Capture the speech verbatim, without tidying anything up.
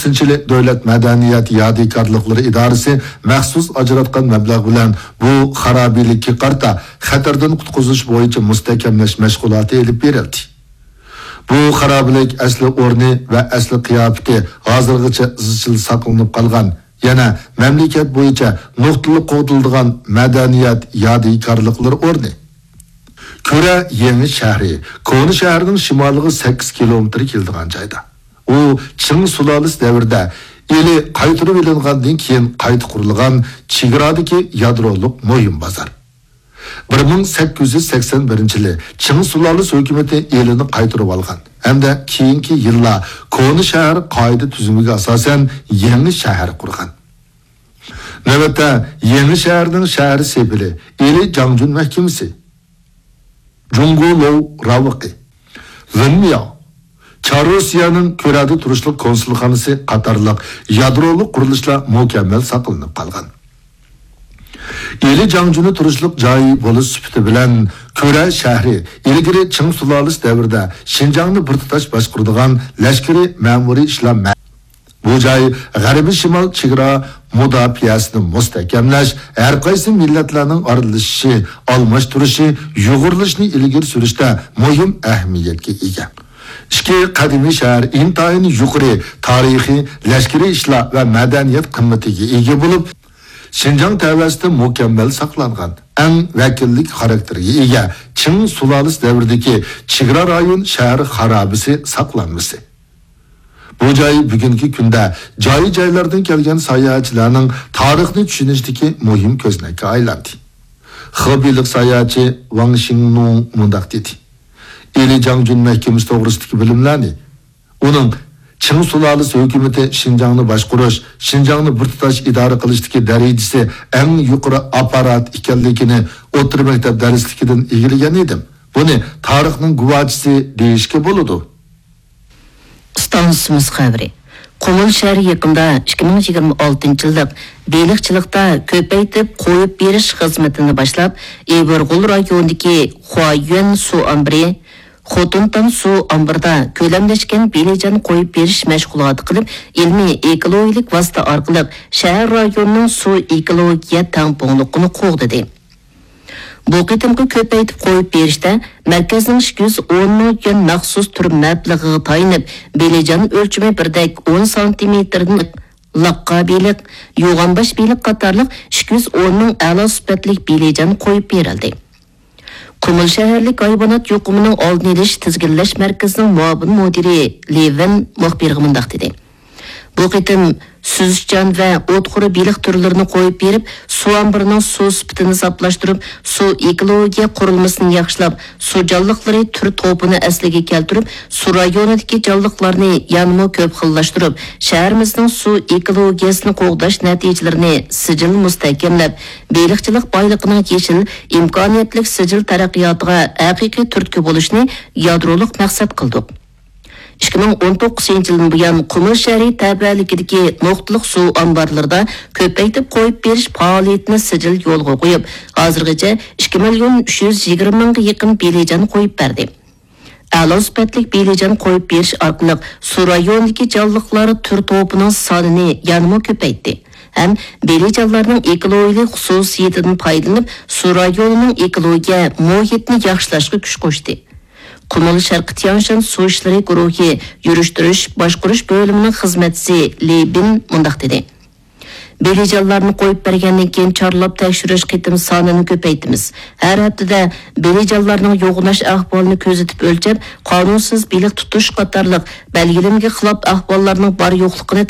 سىنچىلى دۆلەت مەدەنىيەت يادىكارلىقلىرى ئىدارىسى مەخسۇس ئاجراتقان مەبلەغ بىلەن بۇ خارابىلىككە قارىتا خەتەردىن قۇتقۇزۇش بويىچە مۇستەھكەملەش مەشغۇلاتى ئېلىپ بېرىلدى. بۇ خارابىلىك ئەسلى ئورنى ۋە ئەسلى قىياپىتى ھازىرغىچە ئىزچىل ساقلىنىپ قالغان، يەنە مەملىكەت بويىچە نۇقتىلىق قوغدىلىدىغان مەدەنىيەت يادىكارلىقلىرى ئورنى. كۈرە يېڭى شەھىرى كونا شەھەرنىڭ شىمالىغا سەككىز كىلومېتىر كېلىدىغان جايدا. ئۇ چىڭ سۇلالىسى دەۋرىدە ئىلى قايتۇرۇۋېلىنغاندىن كېيىن قايتا قۇرۇلغان چېگرادىكى يادرولۇق مۇھىم بازار. بىر مىڭ سەككىز يۈز سەكسەن بىرىنچى يىلى چىڭ سۇلالىسى ھۆكۈمىتى ئىلىنى قايتۇرۇۋالغان ھەمدە كېيىنكى يىللار كونا شەھەر قائىدە تۈزۈمىگە ئاساسەن يېڭى شەھەر قۇرغان. نۆۋەتتە يېڭى شەھەرنىڭ شەھەر سېپىلى ئىلى جاڭجۈن مەھكىمىسى، جۇڭگو لوۋ راۋىقى، لىنمياۋ، چاررۇسىيەنىڭ كۈرەدە تۇرۇشلۇق كونسۇلخانىسى قاتارلىق يادرولۇق قۇرۇلۇشلار مۇكەممەل ساقلىنىپ قالغان. ئىلى جاڭجۈنى تۇرۇشلۇق جاي بولۇش سۈپىتى بىلەن كۈرە شەھىرى ئىلگىرى چىڭ سۇلالىسى دەۋرىدە شىنجاڭنى بىر تۇتاش باشقۇرىدىغان لەشكىرىي مەمۇرىي ئىشلار مە-، بۇ جاي غەربىي شىمال چېگرا مۇداپىئەسىنى مۇستەھكەملەش، ھەر قايسى مىللەتلەرنىڭ ئارىلىشىشى، ئالماشتۇرۇشى، يۇغۇرۇلۇشىنى ئىلگىرى سۈرۈشتە مۇھىم ئەھمىيەتكە ئىگە. ئىككى قەدىمىي شەھەر ئىنتايىن يۇقىرى تارىخىي، لەشكىرىي ئىشلار ۋە مەدەنىيەت قىممىتىگە ئىگە بولۇپ، شىنجاڭ تەۋەسىدە مۇكەممەل ساقلانغان، ئەڭ ۋەكىللىك خاراكتېرىگە ئىگە چىڭ سۇلالىسى دەۋرىدىكى چېگرا رايون شەھەر خارابىسى ساقلانمىسى. بۇ جاي بۈگۈنكى كۈندە جاي-جايلاردىن كەلگەن ساياھەتچىلەرنىڭ تارىخنى چۈشىنىشىدىكى مۇھىم كۆزنەككە ئايلاندى. خېبېيلىق ساياھەتچى ۋاڭ شىڭنۇڭ مۇنداق دېدى: ئىلى جاڭجۈن مەھكىمىسى توغرىسىدىكى بىلىملەرنى، ئۇنىڭ چىڭ سۇلالىسى ھۆكۈمىتى شىنجاڭنى باشقۇرۇش، شىنجاڭنى بىر تۇتاش ئىدارە قىلىشتىكى دەرىجىسى ئەڭ يۇقىرى ئاپپارات ئىكەنلىكىنى ئوتتۇرا مەكتەپ دەرسلىكىدىن ئىگىلىگەن ئىدىم. بۇنى تارىخنىڭ گۇۋاھچىسى دېيىشكە بولىدۇ. ئىستانسىمىز خەۋىرى. قۇمۇل شەھىرى يېقىندا ئىككى مىڭ يىگىرمە ئالتىنچى يىللىق بېلىقچىلىقتا كۆپەيتىپ قويۇپ بېرىش خىزمىتىنى باشلاپ، ئىبىرغول رايونىدىكى خۇايۈەن سۇ ئامبىرى، خوتۇنتام سۇ ئامبىرىدا كۆلەملەشكەن بېلىجان قويۇپ بېرىش مەشغۇلاتى قىلىپ، ئىلمىي ئېكولوگىيەلىك ۋاسىتە ئارقىلىق شەھەر رايونىنىڭ سۇ ئېكولوگىيە تەڭپۇڭلۇقىنى قوغدىدى. بۇ قېتىمقى كۆپەيتىپ قويۇپ بېرىشتە مەركەزنىڭ ئىككى يۈز ئون مىڭ يۈەن مەخسۇس تۈر مەبلىغىغا تايىنىپ، بېلىجان ئۆلچىمى بىردەك ئون سانتىمېتىردىن لاققا بېلىق، يوغانباش بېلىق قاتارلىق ئىككى يۈز ئون مىڭ ئەلا سۈپەتلىك بېلىجان قويۇپ بېرىلدى. قۇمۇل شەھەرلىك ھايۋانات يۇقۇمىنىڭ ئالدىنى ئېلىش تىزگىنلەش مەركىزىنىڭ مۇئاۋىن مۇدىرى لېۋىن مۇخبىرغا مۇنداق دېدى: بۇ قېتىم سۈزۈشچان ۋە ئوتخور بېلىق تۈرلىرىنى قويۇپ بېرىپ، سۇ ئامبىرىنىڭ سۇ سۈپىتىنى ساپلاشتۇرۇپ، سۇ ئېكولوگىيە قۇرۇلمىسىنى ياخشىلاپ، سۇ جانلىقلىرى تۈر توپىنى ئەسلىگە كەلتۈرۈپ، سۇ رايونىدىكى جانلىقلارنى يەنىمۇ كۆپ خىللاشتۇرۇپ، شەھىرىمىزنىڭ سۇ ئېكولوگىيەسىنى قوغداش نەتىجىلىرىنى سىجىل مۇستەھكەملەپ، بېلىقچىلىق بايلىقىنىڭ يېشىل، ئىمكانىيەتلىك سىجىل تەرەققىياتىغا ھەقىقىي تۈرتكە بولۇشنى يادرولۇق مەقسەت قىلدۇق. ئىككى مىڭ ئون توققۇزىنچى يىلدىن بۇيان، قۇمۇل شەھىرى تەۋەلىكىدىكى نۇقتىلىق سۇ ئامبارلىرىدا كۆپەيتىپ قويۇپ بېرىش پائالىيىتىنى سىجىل يولغا قويۇپ، ھازىرغىچە ئىككى مىليون ئۈچ يۈز يىگىرمە مىڭغا يېقىن بېلىجان قويۇپ بەردى. ئەلا سۈپەتلىك بېلىجان قويۇپ بېرىش ئارقىلىق سۇ رايونىدىكى جانلىقلار تۈر توپىنىڭ سانىنى يەنىمۇ كۆپەيتتى ھەم بېلىجانلارنىڭ ئېكولوگىيەلىك خۇسۇسىيىتىدىن پايدىلىنىپ، سۇ رايونىنىڭ ئېكولوگىيە مۇھىتىنى ياخشىلاشقا كۈچ قوشتى. قۇمۇل شەرقىي تيەنشان سۇ ئىشلىرى گۇرۇھى يۈرۈشتۈرۈش باشقۇرۇش بۆلۈمىنىڭ خىزمەتچىسى لى بىن مۇنداق دېدى: بېلىجانلارنى قويۇپ بەرگەندىن كېيىن چارلاپ تەكشۈرۈش قېتىم سانىنى كۆپەيتىمىز. ھەر ھەپتىدە بېلىجانلارنىڭ يوغىناش ئەھۋالىنى كۆزىتىپ ئۆلچەپ، قانۇنسىز بېلىق تۇتۇش قاتارلىق بەلگىلىمىگە خىلاپ ئەھۋاللارنىڭ بار يوقلۇقىنى